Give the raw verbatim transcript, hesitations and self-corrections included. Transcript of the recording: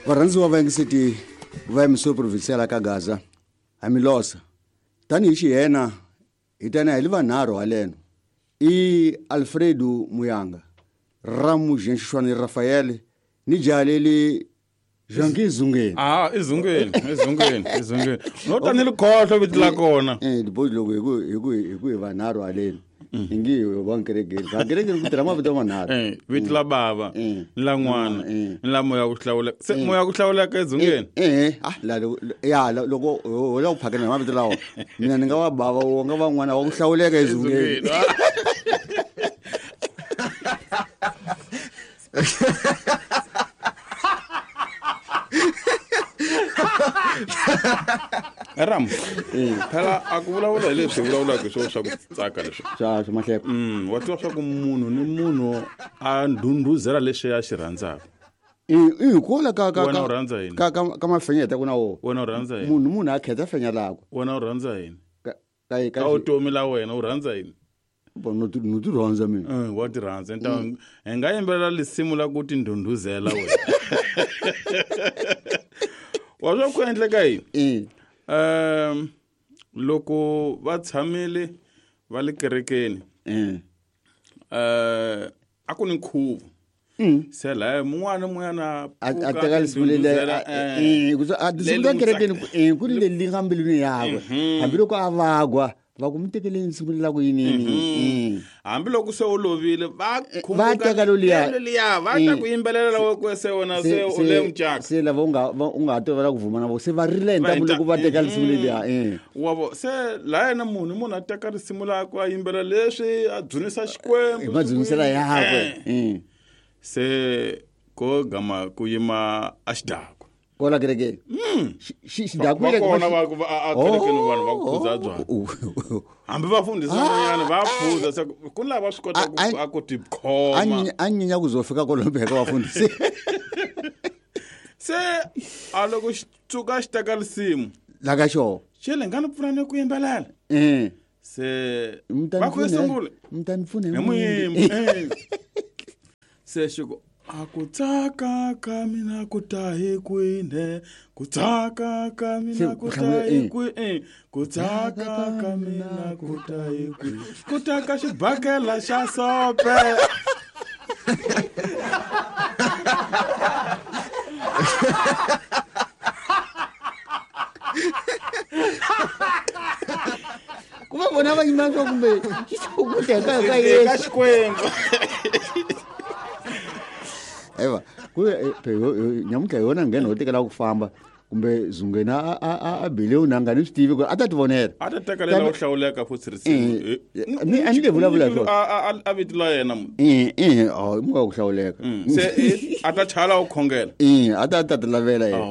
Varhandziwa va yingiseti va emisoro provincial ka Gaza ha Milosa tanihi xihena hi tana hi li vanharhu haleno i Alfredo Muyanga Ramu Jean Rafael ni jaleli Jean Zungeni ah izungeni izungeni izungeni no tani likhohlo vito la kona eh libozi loko hi ku hi ku hi ku hi vanharhu haleni ingi va nkerekeni va nkerekeni ku tirha mavito manharhu eh vito la bava ni la n'wana ni la moya ku hlawuleka se moya ku hlawuleka ezungeni eh ah la ya loko ho la ku phakela mavito lawa mina ni nga wa bava wo nga va n'wana wa ku hlawuleka ezungeni Ram phela a ku vulavula hi leswi vulavulaka hi swona swa ku tsaka leswi swa swa mahleko mm wa tiva swa ku munhu ni munhu a ndhundhuzela leswi a xi rhandzaka i i kola ka ka wena u rhandza yini ka ka ka mafenyeta ku na wo wena u rhandza yini munhu munhu a khetha fenya lakwe wena u rhandza yini ka ka ka utomi la wena u rhandza yini bo no ti no ti rhandza mina eh wa ti rhandza nta hi nga yimbelela lisimu la ku ti ndhundhuzela wena wa swa ku endleka yini um loko va tshamile va le kerekeni eh eh a ku ni nkhuvo se la mun'wana mun'wana a teka lisimu leli eh ku a lisimu la kerekeni eh ku ri leli nga mbilwini yakwe hambiloko a vagwa va ku mi tekeleni nsimu la ku yinini hambiloko se u lovile va va teka loliya loliya va ta ku yimbelela loko se wena se u le mucaka se lava u nga u nga tolovela ku vuma na vo se va rile hintamu loko va teka risimu leliya eh wa vo se la yena munhu munhu a teka risimu lakwe a yimbelela leswi a dzunisa Xikwembu hi madzunisela yakwe eh se ko gama ku yima a xidakwa kola kerekeni xidakwa va kona va ku a kerekeni vanhu va ku phuza byala hambi vafundhisi van'wanyana va phuza se ku ni lava swi kota ku a ku tikhoma a nyinya ku zo fika kwalomu ka vafundhisi se a loko xi tsuka xi teka risimu la ka xona xi le nga ni pfuna ni ku yimbelela se va ku sungula mi ta ni pfuna hi muyimbi se xi ku a ku tsaka ka mina ku ta hi kwini ku tsaka ka mina ku ta hi kwini ku tsaka ka mina ku ta hi kwini ku ta ka xibakela xa sope ku va vona va yimela swa kumbe ku teka ka Yesu ka Xikwembu eva ku nyamuntlha hi yona nghena ho tekela ku famba kumbe Zungeni a a a bile u nanga ni swi tivi ku a ta ti vonela a ta teka lela u hlawuleka futhi risimu ni a ni nge vulavula swona a a vito la yena munhu eh eh oh munhu wa ku hlawuleka se a ta chala u khongela eh a ta ta ti lavela yena